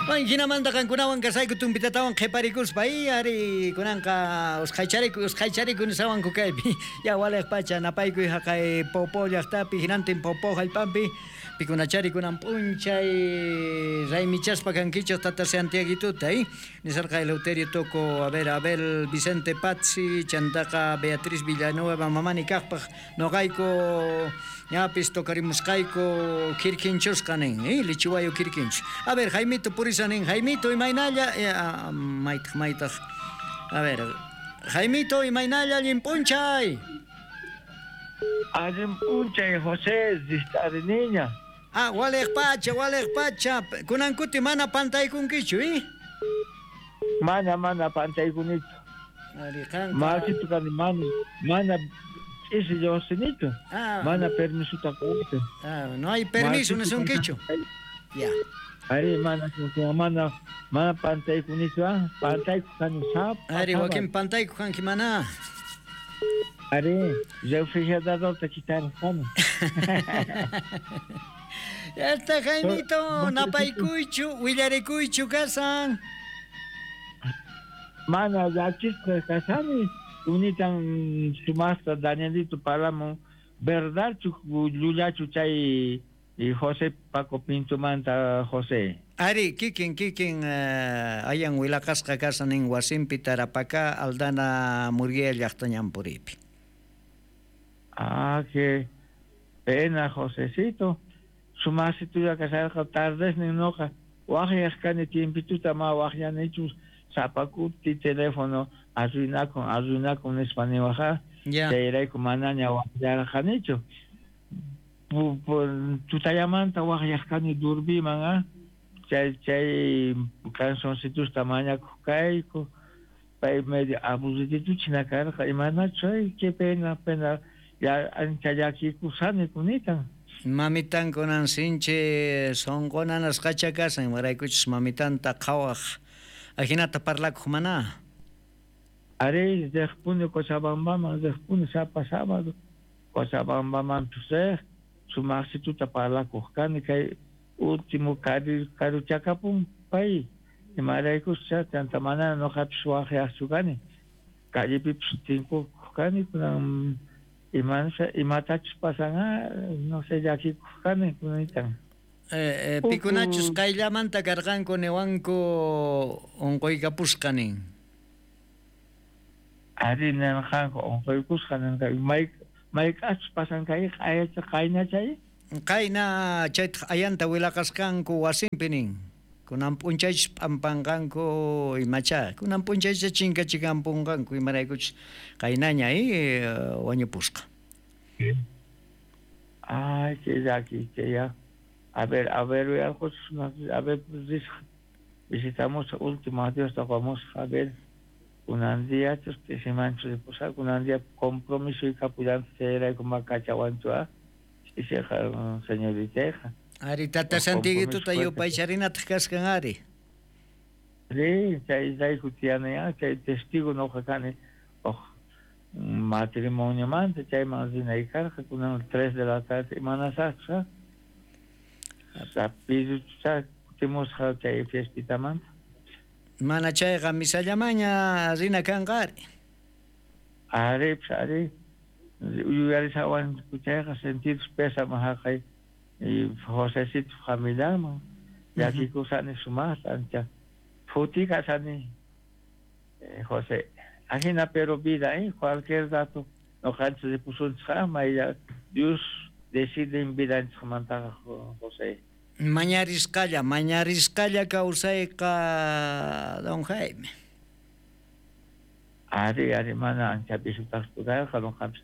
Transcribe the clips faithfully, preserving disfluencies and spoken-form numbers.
Bueno, hinamanta qankunawan kasayku tumpitatawan qhiparikuspa y ari kunanqa usqhaychariku usqhaychariku nisawanku kaypi. Ya waliq pacha napaykuy haqay Popo llaqtapi hinantin Popo hallp'anpi pikunachari kunan p'unchay raymichaspa kankichik tata Santiaguituta y nisarqa Eleuterio Toco, a ver, Abel Vicente Pazzi, chantaqa Beatriz Villanueva mamani kaqpaq noqayku ñapis tocarimusqayku kirkinchusqa nin, eh, lichiwayo kirkinchu. A ver, Jaimito purisa nin, Jaimito imaynalla, eh, ah, maytaq maytaq. A ver, Jaimito imaynalla allin p'unchay. Allin p'unchay José, niña. Ah, waliq pacha, waliq pacha. Kunan kuti mana pantaykunkichu, eh? Mana, mana pantaykunichu. Ari qanqa. Masitu kani mana, mana ch'isi lluqsinichu. Ah, Mana permisota quwaychu. Ah, no hay permiso nisunkichu. Ya. Ari mana mana mana pantaykunichu, ah. Pantayku kani sapa. Ari wakin pantayku kanki mana. Ari, refrigeradorta quitarqani. Ya está Jaimito, napaykuychu, willarikuychu kasan. Mana llakisqa kashani. Unitan sumaqta Danielito parlamun verdadchu llullachu chay José Paco Pintomanta José. Ari, kikin kikin uh, ayan willaqasqa kasan nin wasinpi Tarapacá Aldana Murguía llaqta ñanpuripi. Ah, qué pena, Josecito. Sumaqsitulla kasharqa tardesnin noqa waqyaq kani tiempituta ma waqyanichu sapakuti teléfono arruinakun arruinakun nispa niwaqa. Ya. Chayrayku manaña waqyarqanichu. Tutallamanta waqyaq kani durbiman, ah. Chay chay cancioncitusta mañakuq kayku. Pay medio aburridituchina karqa imanachu, ay, qué pena, pena. Ya ancha llakikusani kunitan. Mamitan kunan sinchi sunqu nanasqacha kasan, imaraykuchus mamitanta qhawaq ajinata parlakuq mana. Ari riqpuni Cochabambaman, riqpuni sapa sábado Cochabambaman riq, sumaqsituta parlakuq kani kay último karu karuchakapun pay imaraykuscha chanta mana noqapis waqyaqchu kani callepipis tinkuq kani kunan imanasha imatachus pasan, no sé, llakikuq kani kunanitan. Eh, eh, pikunachus qayllamanta karqanku niwanku unquykapusqa nin. Ari nirqanku unquykusqa ninqa may mayk'achus pasan kay q'ayacha qayna chay? Qayna chaytaq ayanta willaqasqanku wasinpi nin. Kunan p'unchaychus p'ampanqanku imacha, kunan p'unchaychus chinkachikampunqanku imaraykuchus qaynaña eh, wañupusqa. Ay, qué llaki, qué ya. A ver, a ver, a ver, visitamos último adiós, vamos a ver. Kunan día, ch'isimanchu ripusaq, kunan día compromiso y capullante chayrayku makachawanchu, ah. Ch'isiqa señoritayqa. Ari tata Santiaguituta yupaycharinataq kasqan ari. Sí, chay rayku tiyani, ah, chay testigo noqa kani uj matrimoniomanta chayman rinay karqa kunan tres de la tarde imanasaqchus, ah. Rapiducha kutimusqa chay fiestitamanta. Mana chayqa misallamaña rina kanqa ari. Ari, pues, ari. Yuyarisawanku chayqa sentidos pésame haqay Josecito familiaman llakikusani sumaqta ancha phuti kasani José. Ajina pero vida, eh, cualquier rato noqanchis ripusunchik maylla Dios decide en vidanchikmantaqa José. Mañarisqalla, mañarisqalla kawsayqa don Jaime. Ari, ari, mana ancha pisutaqchu karqa noqapis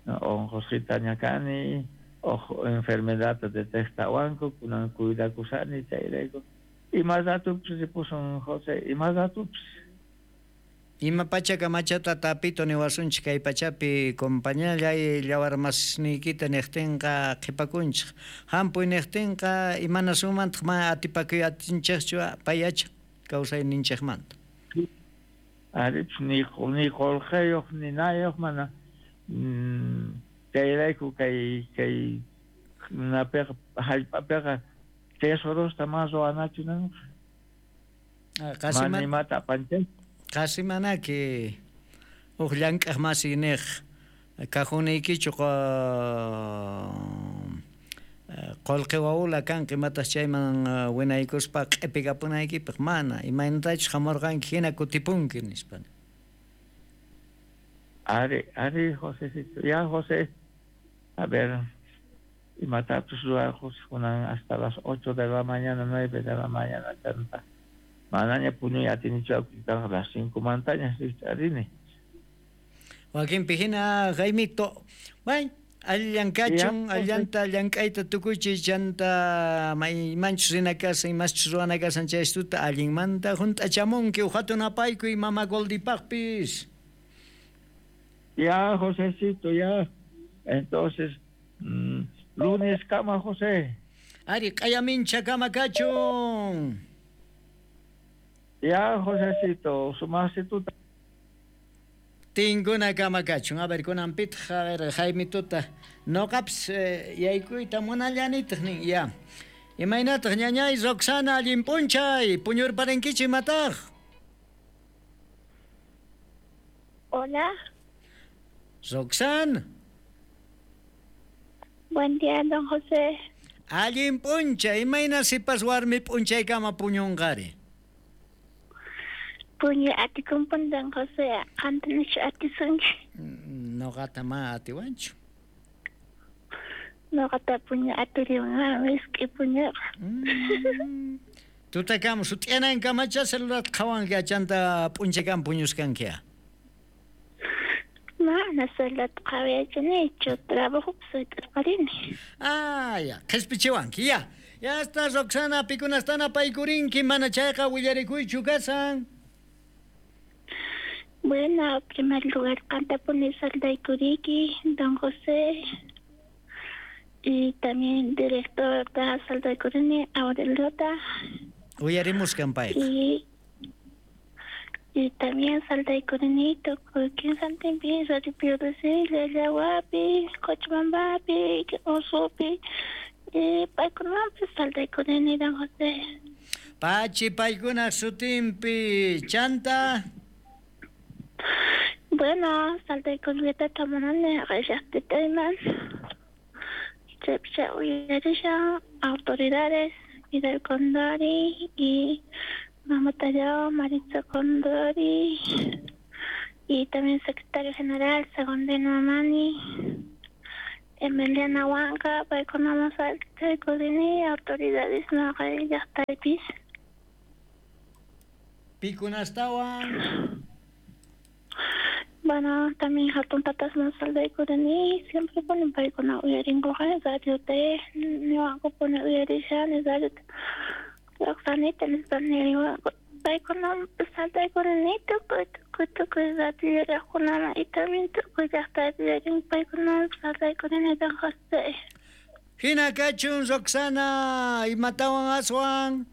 unqusqitaña kani, uj enfermedadta detectawanku, kunan cuidakusani chayrayku. Ima ratupis ripusun José, ima ratupis. Ima pachaka machata tapito niwasunchik kay pachapi compañallay llawarmasniykita niqtinqa qhipakunchik. Hampuy niqtinqa imanasumantaq mana atipakuy atinchikchu payacha kawsayninchikmanta. Ari, ni ni qulqayuq ni nayuq mana chayrayku kay kay napiqa hallp'apiqa tesorosta mana ruwanachu nanqa. Mana imata apanchay. Qasi manaki uj llank'aq masi niq kajuniykichu qolqe wawula kanqa imatas chayman winaykuspa q'ipikapunaykipaq mana imaynatachus hamurqanki hina kutipunki nispa. Ari, ari Josecito, ya José, a ver, imatachus ruwaqus kunan hasta las ocho de la mañana, nueve de la mañana chanta. Manaña puñuy atinichu a las cinco mantañas rini. Wakinpi hina Jaimito, bay, allan kachun, allanta llank'ayta tukuychis chanta maymanchus rina kasan, imaschus ruwana kasan chaystuta allinmanta hunt'achamunki uhatun apaykuy mama Goldipaqpis. Ya, Josecito, ya. Entonces, mm, lunes kama, José. Ari, q'ayamincha kama kachun. Ya, Josecito, sumasituta. Tinkuna kama kachun. A ver, kunanpitaq, a ver, Jaimitota. Noqapis eh, yaykuyta munallanitaq nin, ya. Imaynataq ñañay Roxana allin p'unchay, puñurparinkichu imataq? Hola. Roxana. Buen día, don José. Allin p'unchay, imayna sipas warmi p'unchaykama puñunqari? Puñu atikunpun don José, qantanichu atisunki? Noqata ma atiwanchu. Noqata puñu atiriwan, misk'i puñuqa. Mm. Tutakama sut'iyanankamacha celular qhawanki achanta p'unchaykama puñuskankia. Mana celular qhawayachanichu, trabajopi suyt'arqarini. Ah, ya, qhispichiwanki, ya. Ya está, Roxana, pikunastana paykurinki, mana chayqa willarikuychu kasan. Bueno, en primer lugar, qantapuni saldaykuriki, don José, y también director de saldaykurini, Aureliota. Uyarimuskan payqa. Y, y también saldaykurini, tukuy kinsantinpi, Radio P D C, Llallawapi, Cochabambapi, Osupi, y paykunapi saldaykurini, don José. Pachi paykuna sutinpi, chanta. Bueno, saldaykuriyta tamunani qallaqtitayman. Chaypicha uyarishan autoridades, Miguel Condori y Mama Tallao, Maritza Condori, y también secretario general Segundino Mamani, Emiliana Huanca, paykunama saldaykurini, autoridades llaqtaypis. Pikunastawan. Bueno, también hatun tatasman saldaykurini, siempre ponen paykuna uyarinkuqa radio T, niwanku pone uyarishani radio T. Roxanita nispa niriwanku, paykuna saldaykurini tukuy tukuy tukuy radio yuyaqkunama y también tukuy llaqtaypi yuyarin paykuna saldaykurini don José. Hina kachun Roxana, imatawan aswan?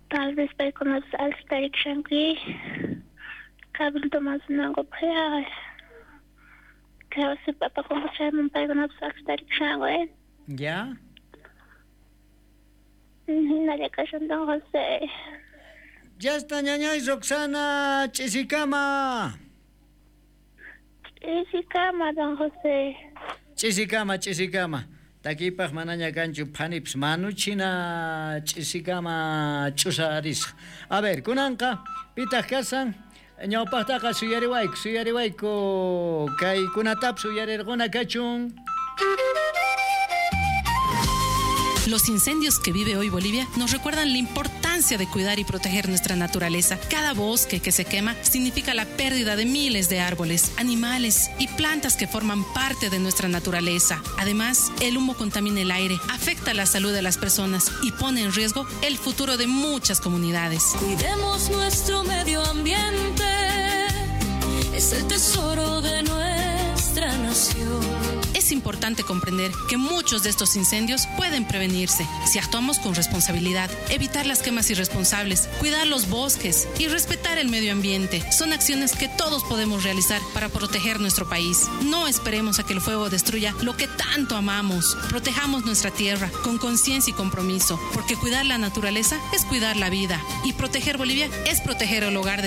Tal vez paykunapis altarikashanki. Cabildo masunanku ya. Kawsi papakunku chayman paykunapis altarikashanku, eh. Ya. Hinalla kashan don José. Ya está ñañay Roxana, ch'isikama. Ch'isikama don José. Ch'isikama, ch'isikama. Takipaq manaña kanchu phanipis manuchina ch'isikama ch'usarisqa. A ver, kunanqa pitaq kasan ñawpaqtaqa suyariwayku, suyariwayku kaykunatapis uyarirquna kachun. Los incendios que vive hoy Bolivia nos recuerdan la importancia de cuidar y proteger nuestra naturaleza. Cada bosque que se quema significa la pérdida de miles de árboles, animales y plantas que forman parte de nuestra naturaleza. Además, el humo contamina el aire, afecta la salud de las personas y pone en riesgo el futuro de muchas comunidades. Cuidemos nuestro medio ambiente, es el tesoro de nuestra nación. Es importante comprender que muchos de estos incendios pueden prevenirse si actuamos con responsabilidad, evitar las quemas irresponsables, cuidar los bosques y respetar el medio ambiente. Son acciones que todos podemos realizar para proteger nuestro país. No esperemos a que el fuego destruya lo que tanto amamos. Protejamos nuestra tierra con conciencia y compromiso, porque cuidar la naturaleza es cuidar la vida y proteger Bolivia es proteger el hogar de